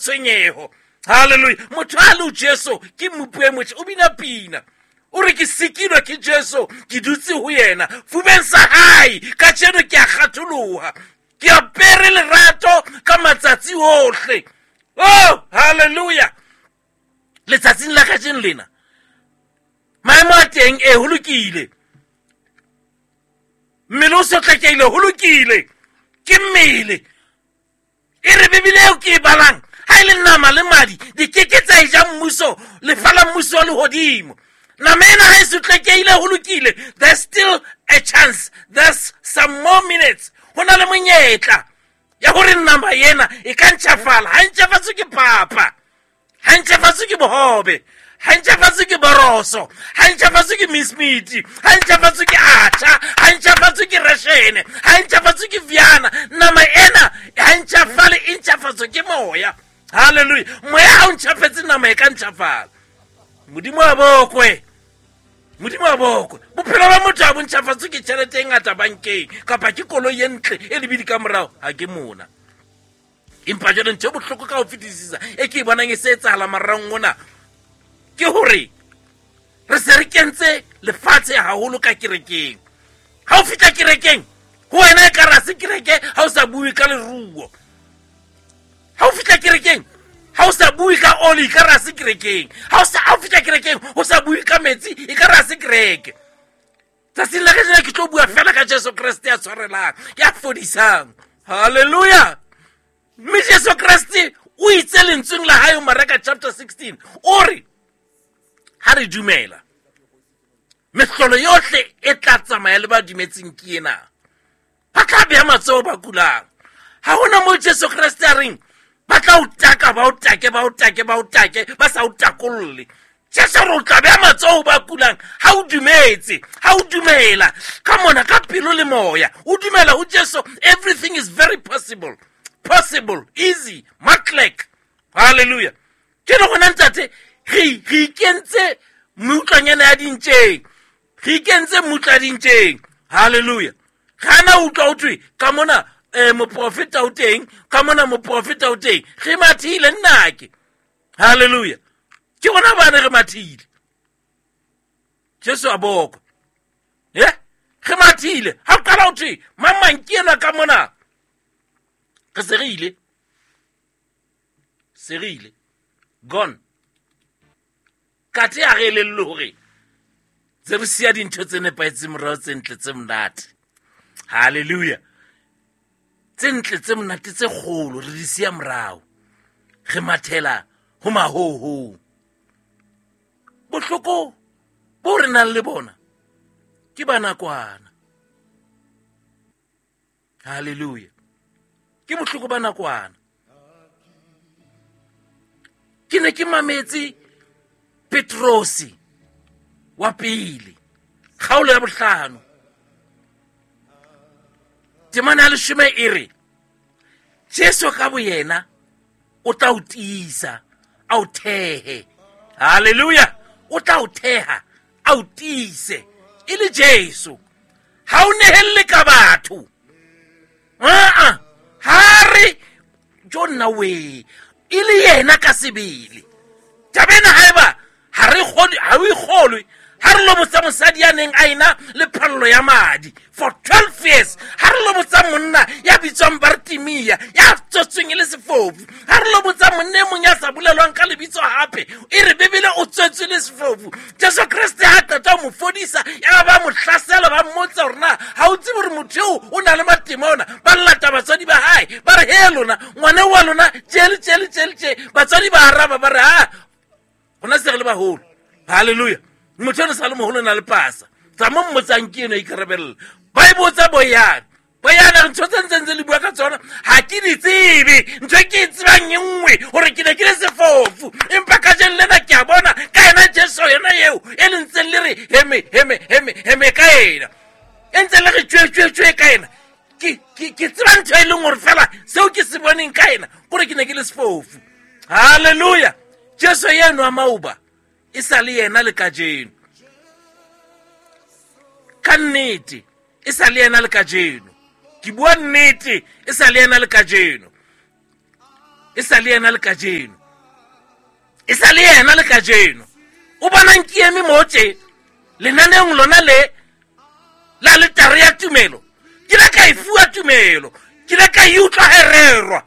Tshwenyeho. Halleluja. Motho a le Jesu ke mmupi e motjha, o bina pina. O re ke sikilwe ke Jesu, ke dutse ho yena. Fubeng sa hae, kajeno ke a kgatholoha. Ke apere lerato ka matsatsi ohle. Oh, halleluja. Letsatsing la kajeno lena, maemo a teng e ho lokile. Mmele o sotlekehile, ho lokile. Ke mmele. E re Bibele eo ke e balang, ha e le nama le madi di ke ke tsa e ja mmuso, lefa la mmuso wa lehodimo. Nama ena ha e sotlekehile, ho lokile. There's still a chance, there's some more minutes. Ho na le monyetla ya hore nama ena e ka ntjhafala. Ha e ntjhafatswe ke papa, ha e ntjhafatswe ke bohobe, ha e ntjhafatswe ke boroso, ha e ntjhafatswe ke mismiti, ha e ntjhafatswe ke atjha, ha e ntjhafatswe ke reshene, ha e ntjhafatswe ke viana. Nama ena ha e ntjhafale, e ntjhafatswe ke moya. Halleluja. Moya ha o ntjhafetse, nama e ka ntjhafala. Modimo a bokwe, Modimo a bokwe. Bophelo ba motho ha bo ntjhafatswe ke tjhelete e ngata bankeng kapa ke koloi e ntle e lebidi ka morao. Ha ke mona. Empa jwale ntho e bohloko ka ho fetisisa e ke e bonang e se etsahala marang ona ke hore re se re kentse lefatshe haholo ka kerekeng. Ha o fihla kerekeng, ho wena e ka re ha se kereke ha o sa bue ka leruo. Ha o fihla kerekeng, ha o sa bue ka oli, e ka re ha se kerekeng. Ha o fihla kerekeng, o sa bue ka metsi, e ka re ha se kereke. Tsatsing la kajeno ke tlo bua fela ka Jesu Kreste ya tshwarelang, ya fodisang. Halleluja. Mme Jesu Kreste o itse lentsweng la hae ho Mareka chapter 16, o re ha re dumela, mehlolo yohle e tla tsamaya le ba dumetseng ke ena. Ba tla beha matsoho ba kulang. Ha hona moo Jesu Kreste a reng ba tla o taka, ba o take, ba o take, ba o take, ba sa o takolle. Jesu re o tla beha matsoho ba kulang ha o dumetse, ha o dumela ka mona ka pelo le moya, o dumela ho Jesu, everything is very possible, possible, easy, matlek. Hallelujah. Ke le gona ntate, re ikentse meutlwanyana ya dintjeng, re ikentse mmutlwa dintjeng. Hallelujah. Ga na utlwa o thwe ka mona moprofeta o teng, ka mona moprofeta o teng, re mathile nnake. Hallelujah. Ke bona bane re mathile. Jesu a bokwe. Re mathile. Ha o qala o thwe mang mang ke enwa ka mona. Re se re ile. Se re ile. Gone. Kathe ha re elellwe hore tse re siya dintho tse nepahetseng morao, tse ntle, tse monate. Hallelujah. Tse ntle, tse monate, tse kgolo re di siya morao. Re mathela ho mahoho. Bohloko bo re nang le bona ke ba nakwana. Hallelujah. Ke bohloko ba nakwana. Ke ne ke mametse Petrosi wa pele, kgaolo ya bohlano, temana ya leshome e re Jesu ka boyena o tla o tiisa, a o thehe. Hallelujah. O tla o theha, a o tiise. E le Jesu. Ha o nehelle ka batho. Aa, ha re jo nna we, e le yena ka sebele. Taba ena haeba ha re kgolwe, ha o e kgolwe, ha re lo botsa mosadi ya neng a ena le phallo ya madi for 12 years, ha re lo botsa monna ya bitswang Bartimea ya tswetsweng e le sefofu, ha re lo botsa monna e mong ya sa bolelwang ka lebitso hape, e re Bibele o tswetswe le sefofu. Jesu Kreste ha qeta ho mo fodisa, ya ba mo hlasela, ba mmotsa hore na ha o tsebe hore motho eo o na le matemona. Ba llata batswadi ba hae, ba re he lona ngwana wa lona tje le tje le tje le tje. Batswadi ba araba ba re ha gona se re le baholo. Hallelujah. Motho eno sa le moholo o na le pasa. Tsa mo mmotsang ke eno a ikarabella. Ba e botsa boyana. Boyana re ntho tse ntseng tse le bua ka tsona ha ke di tsebe. Ntho e ke e tsebang e nngwe hore ke ne ke le sefofu, empa kajeno lena ke a bona ka yena Jesu yena eo e le ntseng le re heme heme heme heme ka ena, e ntse le re tjwe tjwe tjwe ka ena. Ke tseba ntho e leng hore fela seo ke se boneng ka ena kore ke ne ke le sefofu. Hallelujah. Jesu eno wa maoba e sa le yena le kajeno. Ka nnete e sa le yena le kajeno. Ke bua nnete e sa le yena le kajeno. E sa le yena le kajeno, e sa le yena le kajeno. O bonang ke eme mo tje lenaneong lona le la letare ya tumelo, ke la ka e fuwa tumelo, ke la ka e utlwa ha e rerwa,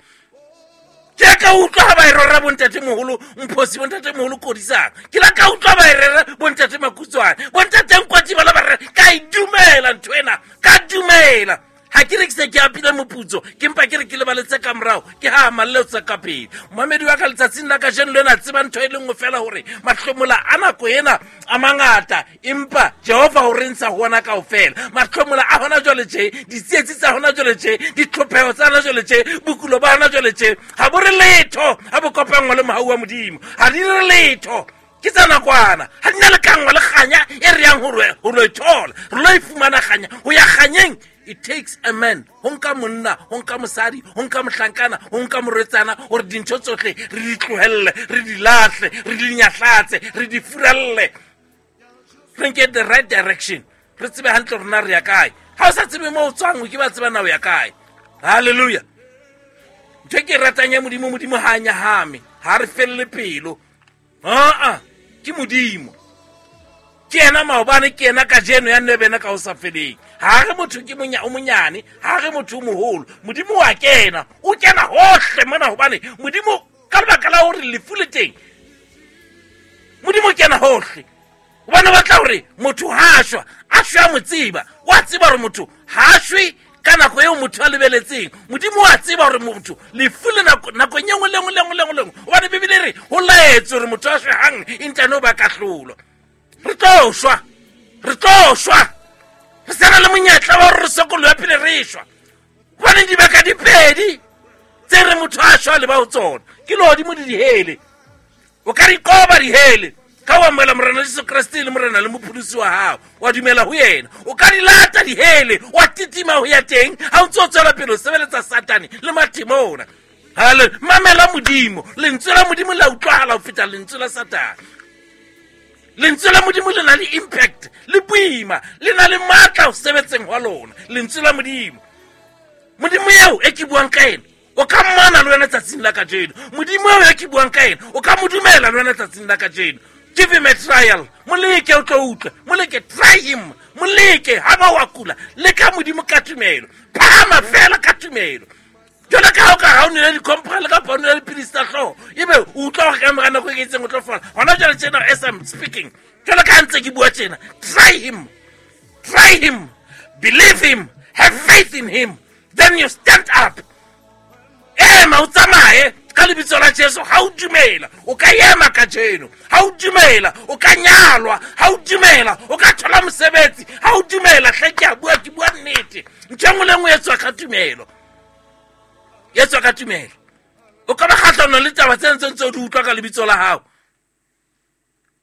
ke la ka utlwa ha ba e rera bontate moholo Mphosi, bontate moholo Kodisang, ke la ka utlwa ba e rera bontate Makutswane, bontate Nkwati ba la ba rera. Ka e dumela ntho ena, ka dumela. Ha ke re ke se ke apile moputso, ke mpa ke re ke lebaletse ka morao, ke ha amalle tsa ka pele. Momamedi wa ka letsatsing la kajeno le ena tseba ntho e le nngwe fela, hore mahlomola a nako ena a mangata, empa Jehova o re ntsha ho ona kaofela. Mahlomola a hona jwale tje, ditsietsi tsa hona jwale tje, ditlhopheho tsa hona jwale tje, bokulo ba hona jwale tje, ha bo re letho ha bo kopanngwa le mohau wa Modimo. Ha di re letho, ke tsa nakwana, ha di na le kangwa le kganya e re yang ho lo e thola, re lo e fumana kganya. Ho ya kganyeng, it takes a man, ho nka monna, ho nka mosadi, ho nka mohlankana, ho nka morwetsana, hore dintho tsohle re di tlohelle, re di lahle, re di nyahlatse, re di furalle, re nke the right direction, re tsebe hantle rona re ya kae. Ha o sa tsebe mo o tswang, o ke ba tseba na o ya kae. Hallelujah. Ntho e ke e ratang ya Modimo, Modimo ha a nyahame, ha re felle pelo. Aa, ke Modimo, ke yena maobane, ke yena kajeno, ya nne bena ka ho sa feleng. Ha re motho ke o monyane, ha re motho o moholo, Modimo wa kena, o kena hohle mona, hobane Modimo ka lebaka la hore lefu le teng, Modimo o kena hohle, hobane o batla hore motho ha a shwa, a shwe a mo tseba. Wa tseba hore motho ha a shwe ka nako eo motho a lebeletseng. Modimo wa tseba hore motho lefu le nakong e nngwe le nngwe le nngwe le nngwe le nngwe, hobane Bibele e re ho laetswe hore motho a shwe hang, e ntane o ba kahlolo. Re tlo shwa, re tlo shwa, re sa na le monyetla wa hore re sokolohe pele re shwa, hobane dibaka di pedi tse re motho a shwa le ba ho tsona, ke lehodimo le dihele. O ka di qoba dihele ka ho amohela Morena Jesu Kreste le Morena le Mopholosi wa hao, wa dumela ho yena. O ka di lata dihele, wa titima ho ya teng ha o ntse o tswela pele ho sebeletsa Satane le mathemona. Hale, mamela Modimo. Lentswe la Modimo le a utlwahala ho feta lentswe la Satane. Lentswe la Modimo le na le impact, le boima, le na le matla ho sebetseng hwa lona. Lentswe la Modimo, Modimo eo e ke buang ka ena, o ka mmona le wena tsatsing la kajeno. Modimo eo e ke buang ka ena, o ka mo dumela le wena tsatsing la kajeno. Give him a trial, moleke o tlo utlwe, moleke, try him, moleke. Ha ba wa kula, leka Modimo ka tumelo, phahama fela ka tumelo. Jwale ka ha o ka ha o nwele di-compral kapa o nwele dipilisi tsa hlooho, ebe o utlwa hore ka mora nako e itseng o tlo fola. Hona jwale tjena, as I'm speaking, jwale ka ha ntse ke bua tjena, try him, try him, believe him, have faith in him, then you stand up. Ema o tsamaye ka lebitso la Jesu. Ha o dumela o ka ema kajeno, ha o dumela o ka nyalwa, ha o dumela o ka thola mosebetsi, ha o dumela, hle ke a bua, ke bua nnete. Ntho e nngwe le nngwe e tswa ka tumelo, e tswa ka tumelo. O ka ba kgahlanong le taba tse ntseng tse o di utlwa ka lebitso la hao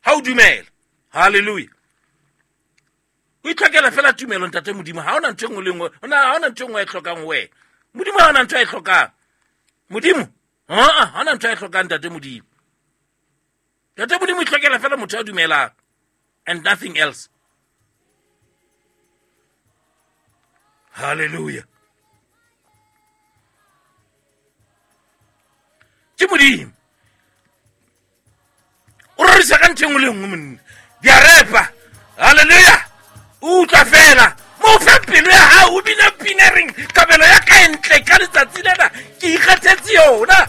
ha o dumela. Hallelujah. O itlhokela fela tumelo, ntate Modimo. Ha hona ntho e nngwe le nngwe, ha hona ntho e nngwe e hlokang ho wena. Modimo ha hona ntho a e hlokang. Modimo, ha hona ntho a e hlokang, ntate Modimo. Ntate Modimo o itlhokela fela motho a dumelang and nothing else. Hallelujah. Ke Modimo. O rorisa ka ntho e nngwe le nngwe monna. Di a repa. Hallelujah. O utlwa fela. Mo fe pelo ya hao, o bina pina e reng, kabelo ya ka e ntle ka letsatsi lena, ke ikgethetse yona.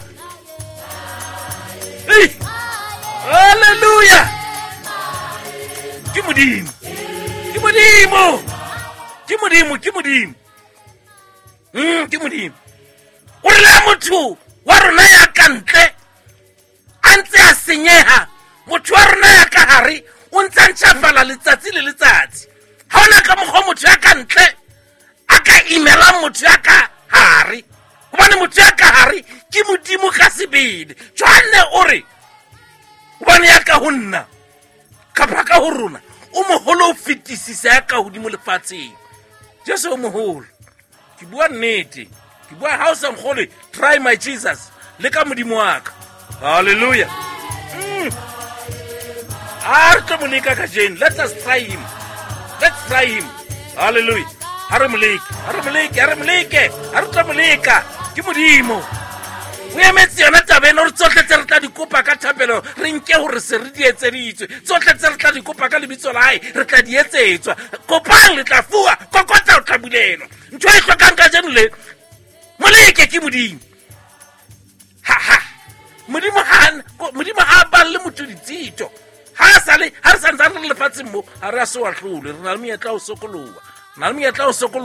Ei. Hallelujah. Ke Modimo. Ke Modimo. Ke Modimo, ke Modimo. Ke Modimo. O re la motho wa rona ya ka ntle a ntse a senyeha, motho wa rona ya ka hare o ntse a ntjhafala letsatsi le letsatsi. Ha hona ka mokgwa motho ya ka ntle a ka imelang motho ya ka hare, hobane motho ya ka hare ke Modimo ka sebele. Johanne o re, hobane ya ka ho nna kapa ka ho rona o moholo ho fetisisa ya ka hodimo lefatsheng. Jesu o moholo. Ke bua nnete, ke bua ha o sa nkgolwe, try my Jesus, le ka Modimo wa ka. Hallelujah. A re tlo mo leka kajeno. Let us try him, let's try him. Hallelujah. Ha re mo leke, ha re mo leke, ha re mo leke, ha re tlo mo leka. Ke Modimo. O emetse yona taba ena gore tsotlhe tse re tla di kopa ka thapelo re nke gore se re di etseditswe. Tsotlhe tse re tla di kopa ka lebitso la hae re tla di etsetswa. Kopang le tla fuwa, kokotla o tla bulelwa. Ntho e hlokang kajeno le moleke ke Modimo. Ha ha. Modimo ha balle motho ditshito. Ha sale ha re santsane re lefatsheng mo, ha re a se wa hlole. Re na le monyetla o sokoloha. Re na le monyetla o sokoloha.